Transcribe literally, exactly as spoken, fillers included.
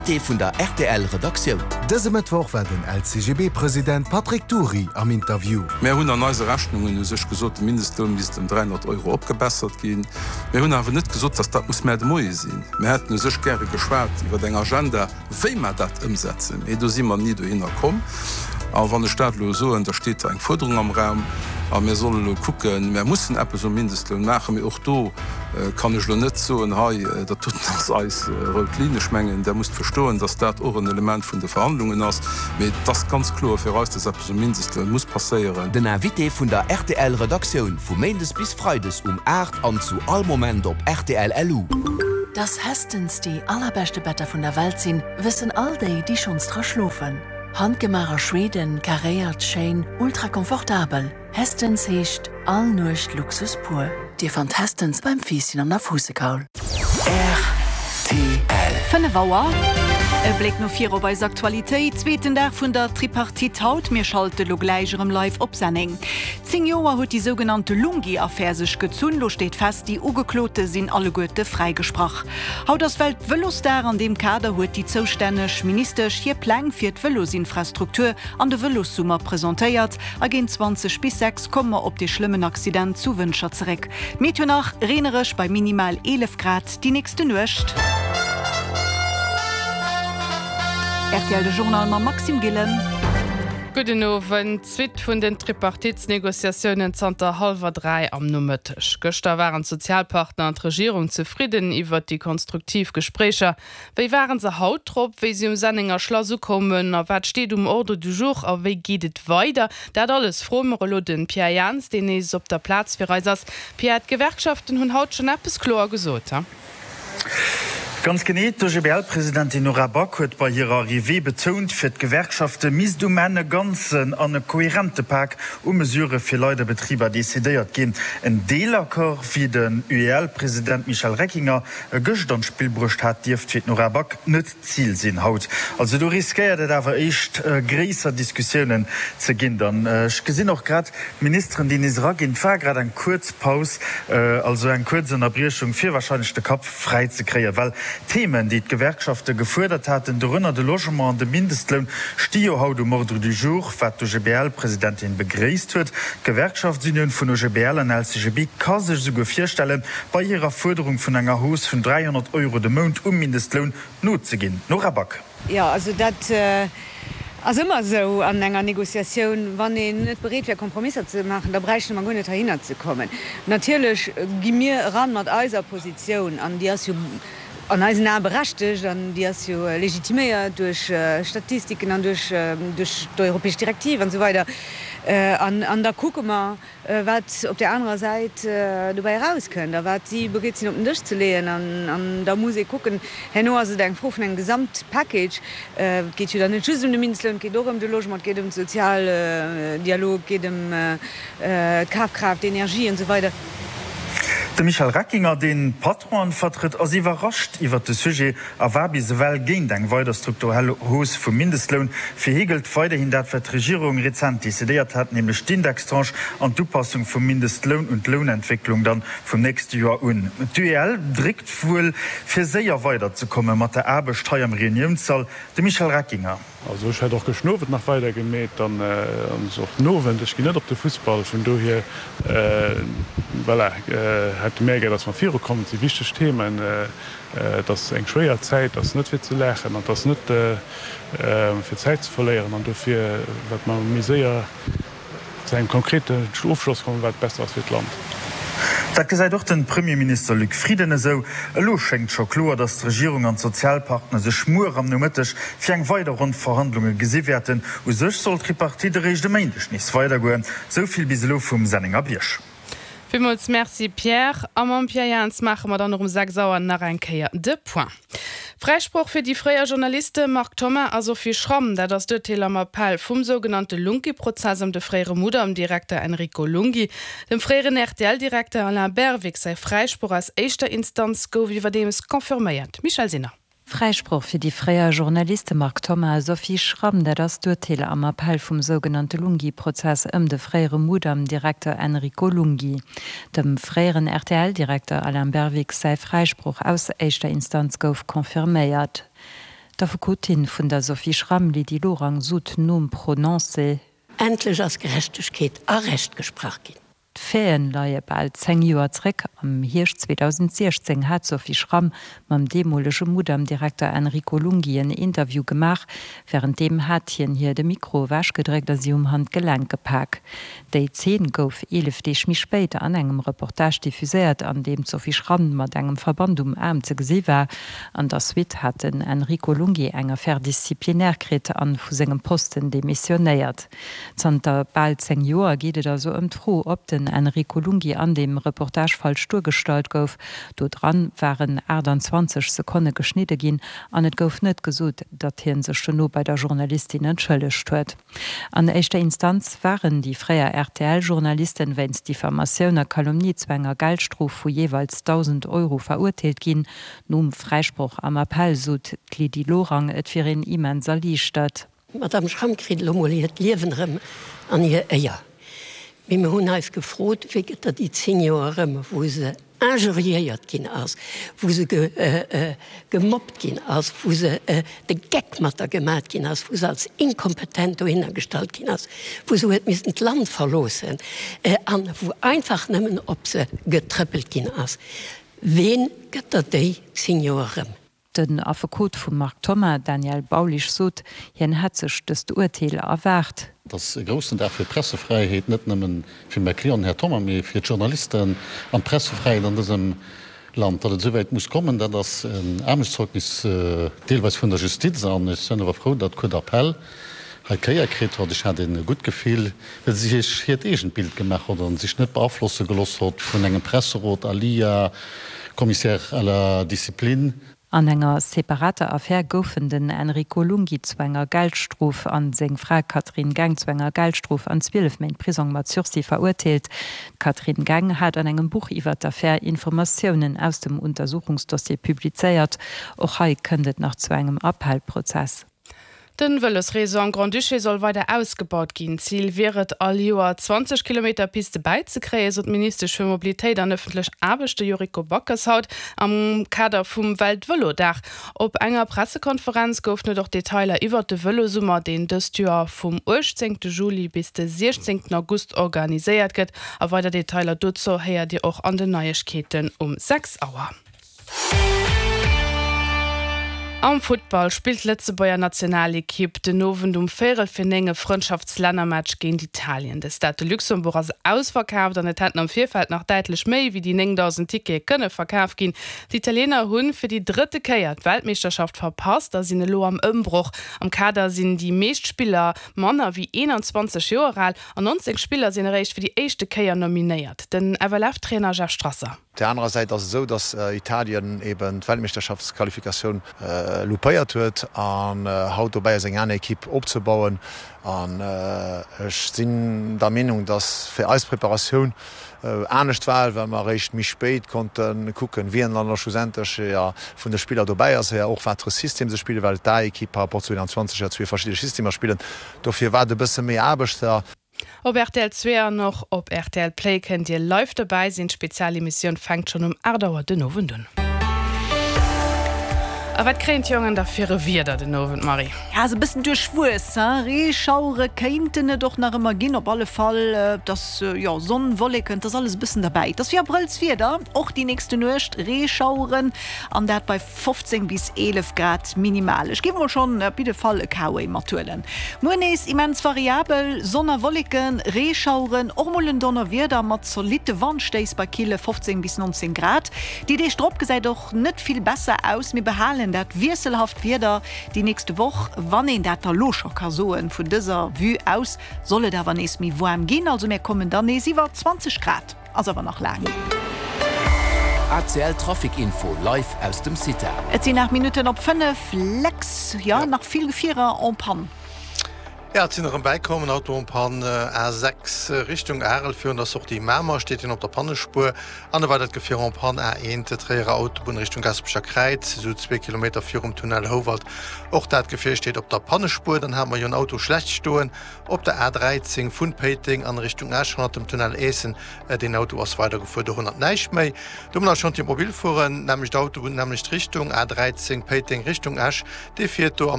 Invité vun der rtl Redaktioun. Dëse Mëttwoch war den LCGB-President Patrick Dury am Interview. Mär hunn an eise Rechnungen u sech gesot, de Mindestloun misst ëm dräihonnert Euro opgebessert ginn. Mär hunn awer net gesot, datt dat muss mar de Moie sinn. Mär hätten u sech gäre geschwat iwwer eng Agenda, wéi mer dat ëmsetzen, mee do si mer ni dohinner komm. A wann ech dat elo soen, da steet da eng Fuerderung am Raum a mir solle elo kucken, mär mussen eppes um Mindestloun maachen, mee och do kann ech elo net soen, hei dat doten ass eis rout Linn. Ech mengen, Der musst verstoen, datt dat och en Element vun de Verhandlungen ass, mee et ass ganz kloer fir eis, datt eppes um Mindestloun muss passéieren. Den Invité vun der rtl Redaktioun vu Méindes bis Freides um aacht an zu all Moment op rtl LU. Dass Hästens déi allerbeschte Better vun der Welt sinn, wëssen all déi, déi schonns dra schlofen. Handgemaach a Schweden, karéiert, schéin, ultra komfortabel. Hästens heescht all Nuecht Luxus pur. Dir fannt Hästens beim Fiisschen an der Fuussekaul. Rtl. Fënnef Auer. E Bléck no vir op eis Aktualitéit, Zweeten Dag vun der Tripartite haut. Mir schalte lo gläich erëm live op Senneng. Zéng Joer huet déi sougenannte Lunghi-Affär sech gezunn. Lo steet fest, déi Ugeklote sinn alleguerte fräigesprach. Haut ass Welt-Vëlosdag. An deem Kader huet déi zoustänneg Ministesch hir Pläng fir d'Vëlosinfrastruktur an de Vëlossummer presentéiert. A géint zwanzeg bis sechs komme mer op dee schlëmmen Accident zu Wëntger zeréck. D'Meteo nach, Reenereg bei minimal eelef Grad déi nächste Nuecht. Rtl De Journal mam Maxime Gillen. Gudden Owend. D'Suite vun den Tripartitsnegociatiounen zanter hallwer dräi am Nomëtteg. Gëschter waren d'Sozialpartner an d'Regierung zefridden iwwert déi konstruktiv Gespréicher. Wéi waren se haut drop, wéi si um Sennenger Schlass ukoumen? A wat steet um Ordre du jour a wéi geet et weider? Dat alles froe mer elo de Pierre Jans, deen nees op der Plaz fir eis ass. Pierre, d'Gewerkschaften hunn haut schonn eppes kloer gesot, he? Ganz genee, D'OGBL-Presidentin Nora Back huet bei hirer Arrivée betount, fir d'Gewerkschafte misst um Enn e ganzen an e kohärente Pak u Mesurë fir Leit a Betriber decidéiert ginn. En Deelaccord, wéi den U E L-President Michel Reckinger e gëscht an d'Spill bruecht hat, dierft fir d'Nora Back net d'Zil sinn haut. Also do riskéiert et awer éischt gréisser Diskussiounen ze ginn dann. Ech gesinn och grad d'Ministeren, déi nees eraginn. Et war grad eng kuerz Paus, also eng kuerz Ënnerbriechung, fir warscheinlech de Kapp fräi ze kréien, well d'Themen, déi d'Gewerkschafte gefuerdert haten, dorënner de Logement an de Mindestloun, sti jo haut um Ordre du jour, wat d'O G B L-Presidentin begréisst huet. D'Gewerkschaftsunioun vun O G B L an L C G B ka sech esouguer virstellen, bei hirer Fuerderung vun enger Hausse vun dräihonnert Euro de Mount um Mindestloun nozeginn. Nora Back. Jo, also dat ass ëmmer esou an enger Négociatioun, wann een net bereet wär Kompromisser ze maachen, da bräichte mer guer net heihinner ze kommen. Natierlech gi mir eran mat eiser Positioun, an déi ass jo an eisen Ae berechtegt an déi ass jo legitiméiert duerch Statistiken an duerch d'europäesch Direktiv an esou weider. An da kucke mer, wat op där anerer Säit dobäi erauskënnt a wat si bereet sinn op den Dësch ze leeën. An da muss ee kucken, herno ass et eng Fro vun engem Gesamtpackage. Et geet jo dann net just ëm de Mindestloun, et geet och ëm de Logement, et geet ëm de Sozialdialog, et geet ëm d'Kafkraaft, d'Energie an esou weider. De Michel Reckinger, deen d'Patronen vertrëtt, ass iwwerrascht iwwert de Sujet a war bis ewell géint eng weider strukturell Hausse vum Mindestloun. Fir hie gëllt weiderhin dat, wat d'Regierung rezent decidéiert hat, nämlech d'Indextranche an d'Upassung vum Mindestloun un d'Lounentwécklung dann vum nächste Joer un. D'U E L dréckt wuel, fir séier weiderzekomme mat der Aarbecht hei am Reuniounssall. De Michel Reckinger. Also ech hätt och gëschten Owend nach weider gemeet an och den Owend. Ech ginn net op de Fussball, vun dohier voilà, hätte mär gär, datt mer virukommen. Et si wichteg Themen. Et ass eng schwéier Zäit, et ass net fir ze laachen an et ass net fir Zäit ze verléieren. An dofir, wat mer méi séier zu engem konkreten Ofschloss kommen, wat besser ass fir d'Land. Dat gesäit och de Premierminister Luc Frieden esou. Elo schéngt scho kloer, datt d'Regierung an d'Sozialpartner sech muer am Nomëtteg fir eng weider Ronn Verhandlunge gesi wäerten. U sech soll d'Tripartite eréischt e Méindeg nees weidergoen. Esou vill bis elo vum Sennenger Bierg. Villmools Merci Pierre. A mam Pierre Jans maache mer dann och um sechs Auer nach eng Kéier de Point. Fräisproch fir déi fréier Journaliste Marc Thoma a Sophie Schramm, dat ass d'Urteel am Appell vum sougenannte Lunghi-Prozess ëm de fréiere Mudam-Direkter Enrico Lunghi. Dem fréieren R T L-Direkter Alain Berwick säi Fräisproch aus éischter Instanz gouf iwwerdeems confirméiert. Michèle Sinner. Fräisproch fir déi fréier Journaliste Marc Thoma a Sophie Schramm, dat ass d'Urteel am Appell vum sougenannte Lunghi-Prozess ëm de fréiere Mudam-Direkter Enrico Lunghi. Dem fréieren R T L-Direkter Alain Berwick säi Fräisproch aus éischter Instanz gouf confirméiert. D'Affekotin vun der Sophie Schram, Lydie Lorang, sot nom Prononcé. Endlech ass Gerechtegkeet a Recht gesprach ginn. D'Faiten leie bal zéng Joer zréck. Am Hierscht zweedausendsiechzéng hat d'Sophie Schram mam deemolege Mudam-Direkter Enrico Lunghi en Interview gemaach. Wärenddeem hat hien hir de Mikro ewechgedréckt a si um Handgelenk gepak. Déi Zeen gouf eelef Deeg méi spéit an engem Reportage diffuséiert, an deem d'Sophie Schram mat engem Verband um Aarm ze gesi war. An der Suite hat den Enrico Lunghi eng Affaire disciplinaire kritt an vu sengem Posten demissionéiert. Zanter bal zéng Joer geet et also ëm d'Fro, ob den Enrico Lunghi an deem Reportage falsch duergestallt gouf. Do dran waren aachtanzwanzeg Sekonne geschnidde ginn an et gouf net gesot, datt hie sech dono bei der Journalistin entschëllegt huet. An éischter Instanz waren déi fréier R T L-Journalisten wéinst Diffamatioun a Calomnie zu enger Geldstrof vu jeeweils dausend Euro verurteelt ginn. Nom Fräisproch am Appell sot d'Lydie Lorang, et wier een immens erliichtert. D'Madame Schramm kritt elo mol hiert Liewen erëm an hir Éier. Mee mir hunn eis gefrot, Wéi gëtt der déi zéng Joer erëm, wou se injuriéiert ginn ass, wou se gemobbt ginn ass, wou se de Geck mat der gemat ginn ass, wou se als inkompetent dohinner gestallt ginn ass, wou se huet missen d'Land verloossen an wou einfach nëmmen op se getrëppelt ginn ass? Ween gëtt der déi zéng Joer erëm? Den Affekot vum Marc Thoma, Daniel Baulisch, sot, hien hätt sech dëst Urteel erwaart. Et ass e groussen Dag fir d'Pressefräiheet, net nëmme fir mäi Client, den Här Thoma, mee fir d'Journalisten an d'Pressefräiheet an dësem Land. Datt et esouwäit muss kommen, dat ass en Aarmutszeugnis deelweis vun der Justiz. An ech sinn awer frou, datt d'Cour d'appel hei d'Kéier kritt hott. Ech hat e gutt Gefill, well se sech hiert eegent Bild gemaach hott a sech net beaflosse gelooss hott vun engem Presserot, alia Commissaire à la discipline. An enger separater Affär goufen den Enrico Lunghi zu enger Geldstrof an seng Fra Catherine Geng zu enger Geldstrof an zwielef Méint Prisong mat Sursis verurteelt. D'Catherine Geng hat an engem Buch iwwer d'Affär Informatiounen aus dem Untersuchungsdossier publizéiert. Och hei kënnt et nach zu engem Appellprozess. Den Vëlosreseau am Grand-Duché soll weider ausgebaut ginn. Zil wier et, all Joer zwanzeg Kilometer Piste bäizekréien, sot d'Ministesch fir Mobilitéit an ëffentlech Aarbechte Yuriko Backes haut am Kader vum Weltvëlodag. Op enger Pressekonferenz goufen et och Detailer iwwert de Vëlosummer, deen dëst Joer vum uechtzéngte Juli bis de siechzéngten August organiséiert gëtt. A weider Detailer dozou héiert Dir och an den Neiegkeeten um sechs Auer. Am Futtball spillt d'Lëtzebuerger Nationalekipp den Owend um véierel vir néng e Frëndschaftslännermatch géint Italien. De Stade de Luxembourg ass ausverkaaft an et hätten am Virfeld nach däitlech méi wéi déi néngdausend Tickete kënne verkaf ginn. D'Italiener hunn fir déi drëtte Kéier d'Weltmeeschterschaft verpasst a sinn elo am Ëmbroch. Am Kader sinn déi meescht Spiller manner wéi eenanzwanzeg Joer al an nonzéng Spiller sinn eréischt fir déi éischte Kéier nominéiert. Den F L F-Trainer Jeff Strasser. Op der anerer Säit ass et esou, datt Italien eben d'Weltmeeschterschaftsqualifikatioun loupéiert huet an haut dobäi ass eng aner Ekipp opzebauen. An ech sinn der Meenung, datt fir eis Preparatioun anescht war, well mer eréischt méi spéit konnte kucken, wien dann da schlussendlech vun de Spiller dobäi ass, och wat fir e System se spillen, well d'A-Ekipp par rapport zu einundzwanzeg ja zwee verschidde Systemer spillen. Dofir war et e bësse méi Aarbecht. Op R T L zwee an och op R T L Play kënnt Dir live dobäi sinn. D'Spezialemissioun fänkt schonn um aacht Auer den Owend un. A wat kréien d'Jongen da fir e Wieder den Owend, Marie? Ja, sou e bëssen duerchwuess, hein? Reeschauere kéinten et och nach ëmmer ginn, op alle Fall, et ass, jo, Sonn, Wolleken, et ass alles e bëssen derbäi. Et ass wéi Abrëllswieder, och déi nächste Nuecht, Reeschaueren an dat bei fofzéng bis eelef Grad minimal. Ech géif mol schonn op jidde Fall e K-Way mathuelen. Muer nees immens variabel, Sonn a Wolleken, Reeschaueren, och mol en Donnerwieder mat zolitte Wandstéiss bei kille fofzéng bis nonzéng Grad. Déi Deeg drop gesäit och net vill besser aus, mir behalen dat wiesselhaft Wieder déi nächste Woch. Wann een dat da lo scho ka soen, vun dëser Vue aus soll et awer nees méi waarm ginn, also mir kommen dann nees iwwer zwanzeg Grad, ass awer nach laang. A C L Trafic Info live aus dem CITA. Et sinn aacht Minutten op fënnef, Lex, jo, nach vill Gefierer en panne. Ja, et sinn erëm bäikomm, en Auto en panne, A sechs Richtung Arel virun der Sortie Mamer steet hien op der Pannespuer an e weidert Gefier en panne, A eent Tréierer Autobunn Richtung Gaspecher Kräiz, esou zwee Kilometer virum Tunnel Houwald. Och dat Gefier steet op der Pannespuer. Dann hate mer jo en Auto schlecht stoen op der A dräizéng vun Péiteng an Richtung Esch hannert dem Tunnel Eessen. Deen Auto ass weidergefuer, dorunner näischt méi. Do hunn mer nach Chantier mobil fueren, nämmlecht Autobunn, nämmlecht Richtung, A dräizéng Péiteng Richtung Esch, dee fiert do am.